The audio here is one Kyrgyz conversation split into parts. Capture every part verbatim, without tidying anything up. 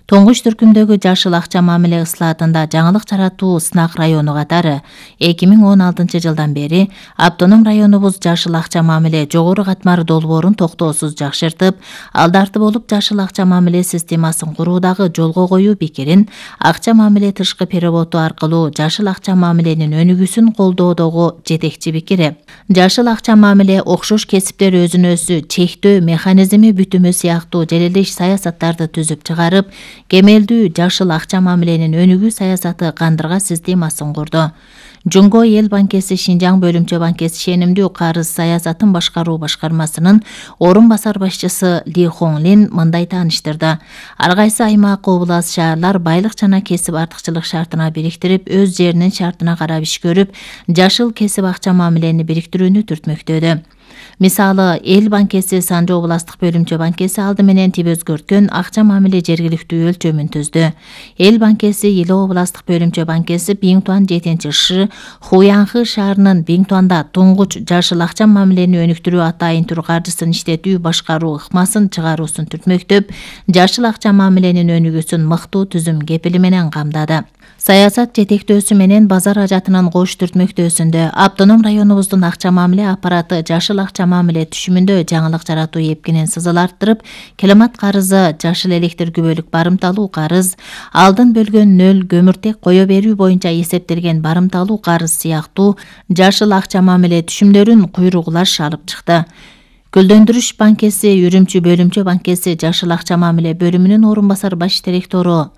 Тоңгуч түркүмдөгү жашыл акча мамиле ыслаатында жаңылык жаратуу сынак району катары эки миң он алтынчы жылдан бери автоном районубуз жашыл акча мамиле жогору катмар долбоорун токтоосуз жакшыртып, алдарты болуп жашыл акча мамиле системасын куруудагы жолго коюу пикирин акча мамиле тышкы переводу аркылуу жашыл акча мамиленин өнүгүүсүн колдоодогу жетекчи пикири. Жашыл акча мамиле окшош кесиптер өзүн өзү чектөө механизми бүтүмү сыяктуу желелеш саясаттарды түзүп чыгарып, кемелдүү жашыл акча мамиленин өнүгүү саясаты кандырга системасын курду. Жунго эл банкеси Шинжаң бөлүмчө банкеси ишенимдүү карыз саясатын башкаруу башкармасынын орун басар башчысы Ли Хонлин мындай тааныштырды. Ар кайсы аймак, облас, шаарлар байлык жана кесип артыкчылык шартына бириктирип, өз жеринин шартына карап иш көрүп, жашыл кесип акча мамилени бириктирүүнү түртмөктөдү. Мисалы, эл банкеси Санжы областык бөлүмчө банкеси алды менен тип өзгөрткөн акча мамиле жергиликтүү өлчөмүн түздү. Эл банкеси Иле областык бөлүмчө банкеси Биңтуан жетинчи Ш, Хуянхы шаарынын Биңтуанда туңгуч жашыл акча мамилени өнүктүрүү атайын тур каржысын иштетүү башкаруу ыкмасын чыгаруусун түртмөктөп, жашыл акча мамиленин өнүгүүсүн мыктуу түзүм кепили менен камдады. Саясат жетектөөсү менен базар ажатынын кош түртмөктөөсүндө автоном районубуздун акча мамиле аппараты жашыл акча мамиле түшүмүндө жаңылык жаратуу эпкинин сызыл арттырып, климат карызы, жашыл электр күбөлүк барымталуу карыз, алдын бөлгөн нөл көмүртек кое берүү боюнча эсептелген барымталуу карыз сыяктуу жашыл акча мамиле түшүмдөрүн куйругулаш алып чыкты. Көлдөндүрүш банкеси Үрүмчү бөлүмчө банкеси жашыл акча мамиле бөлүмүнүн орун басар баш директору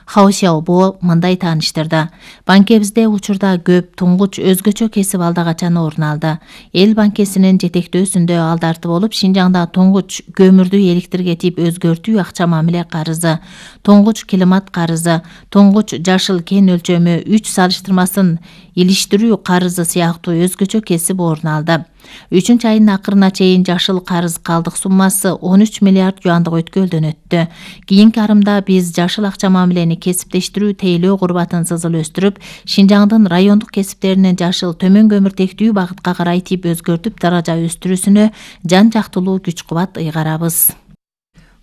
Хао Сяобо мындай тааныштырды. Банкебизде учурда көп туңгуч өзгөчө кесип алдагачан орун алды. Эл банкесинин жетектөөсүндө алдарты болуп, Шинжаңда туңгуч көмүрдү электрге тип өзгөртүү акча мамиле карызы, туңгуч климат карызы, туңгуч жашыл кен өлчөмү үч салыштырмасын илиштирүү карызы сыяктуу өзгөчө кесип орун алды. үчүнчү айдын акырына чейин жашыл карыз калдык суммасы он үч миллиард юандык өткөлдөн өттү. Кийинки арымда биз жашыл акча мамилени кесиптештирүү тейлөө курбатын сызыл өстүрүп, Шинжаңдын райондук кесиптеринин жашыл төмөн көмүртектүү багытка карай тип өзгөртүп даража өстүрүүсүнө жан жактылуу күч кубат ыйгарабыз.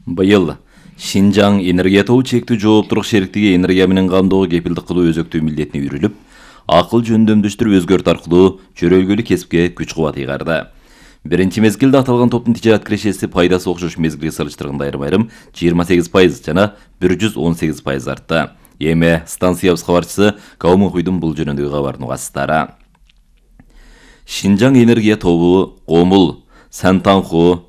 Быйыл Шинжаң энергия тобу чектүү жооптуулук шериктиги энергия менен камдоого кепилдик кылуу өзөктүү милдетине үйрүлүп, акыл жөндөмдөштүрүп өзгөртүү аркылуу чөрөлгөлү кесипке күч кубат ыйгарды. Биринчи мезгилде аталган топтун тижарат кирешеси пайдасы окшош мезгилге салыштырганда айрым-айрым жыйырма сегиз пайыз жана бир жүз он сегиз пайыз артты. Эми станциябыз кабарчысы Каумукуйдун бул жөнүндөгү кабарын угасыздар. Шинжаң энергия тобу Комул, Сантанху,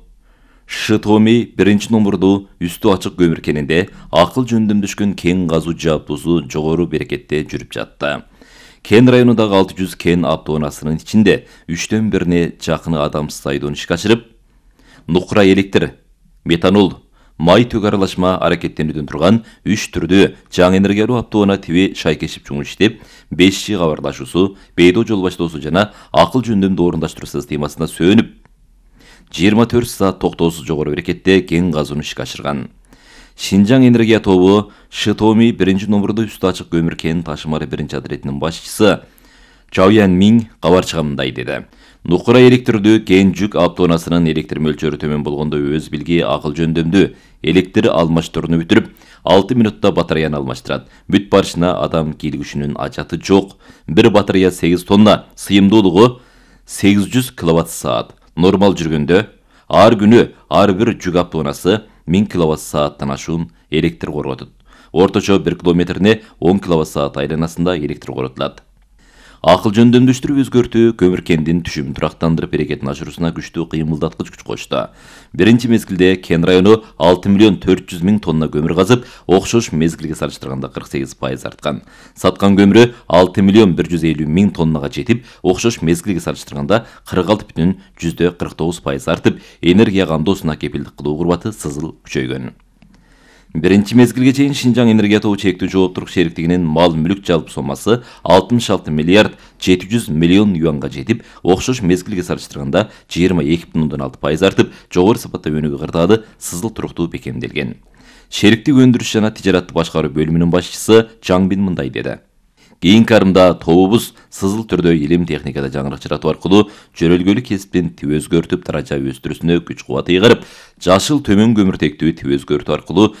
Шытоми биринчи номурду үстү ачык көмүр кенинде акыл жөндөмдөшкөн кен казуу жабдуусу жогору берекетте жүрүп жатты. Кен районундагы алты жүз кен автоунаасынын ичинде үчтөн бирине жакын адамсыз айдоон ишке ашырып, нукура электр, метанол, май төк аралашма аракеттенүүдөн турган үч түрдүү жаңы энергиялуу автоунаа тиби шайкешип жумуш иштеп, беш жи кабарлашуусу, бейдо жол баштоосу жана акыл жөндөмдүү орундаштыруу системасына сөөнүп, жыйырма төрт саат токтоосуз жогору берекетте кен казууну ишке ашырган. Шинжаң энергия тобу Шытоми биринчи номурду үстү ачык көмүр кен ташымары биринчи адретинин башчысы Чаоян Минь кабарчыга мындай деди. Нукура электрдүү кен жүк автоунаасынын электр мөлчөрү төмөн болгондо өз билги акыл жөндөмдүү электр алмаштырууну бүтүрүп, алты минутта батареяны алмаштырат. Бүт барышына адам кийлигишинин ажаты жок. Бир батарея сегиз тонна, сыйымдуулугу сегиз жүз киловатт саат. Нормал жүргөндө ар күнү ар бир жүк автоунаасы миң киловатт сааттан ашуун электр корготот. Орточо бир километрине он киловатт саат айланасында электр коротулат. Акыл жөндөмдөштүрүп өзгөртүү көмүр кендин түшүмүн турактандырып берекетин ашыруусуна күчтүү кыймылдаткыч күч кошту. Биринчи мезгилде кен району алты миллион төрт жүз миң тонна көмүр казып, окшош мезгилге салыштырганда кырк сегиз пайыз арткан. Саткан көмүрү алты миллион бир жүз элүү миң тоннага жетип, окшош мезгилге салыштырганда кырк алты бүтүн жүздө кырк тогуз пайыз артып, энергия камдоосуна кепилдик кылуу курбаты сызыл күчөйгөн. Биринчи мезгилге чейин Шинжаң энергия тобу чектүү жооптуулук шериктигинин мал мүлүк жалпы сомасы алтымыш алты миллиард жети жүз миллион юанга жетип, окшош мезгилге салыштырганда жыйырма эки бүтүн ондон алты пайыз артып, жогору сапатта өнүгүү кырдаалы сызыл туруктуу бекемделген. Шериктик өндүрүш жана тижаратты башкаруу бөлүмүнүн башчысы Жаңбин мындай деди. Кийинки арымда тобубуз сызыл түрдө илим техникада жаңырык жаратуу аркылуу жөрөлгөлүк кесиптин тип өзгөртүп даража өстүрүүсүнө күч кубат ыйгарып, жашыл төмөн көмүртектүү тип өзгөртүү аркылуу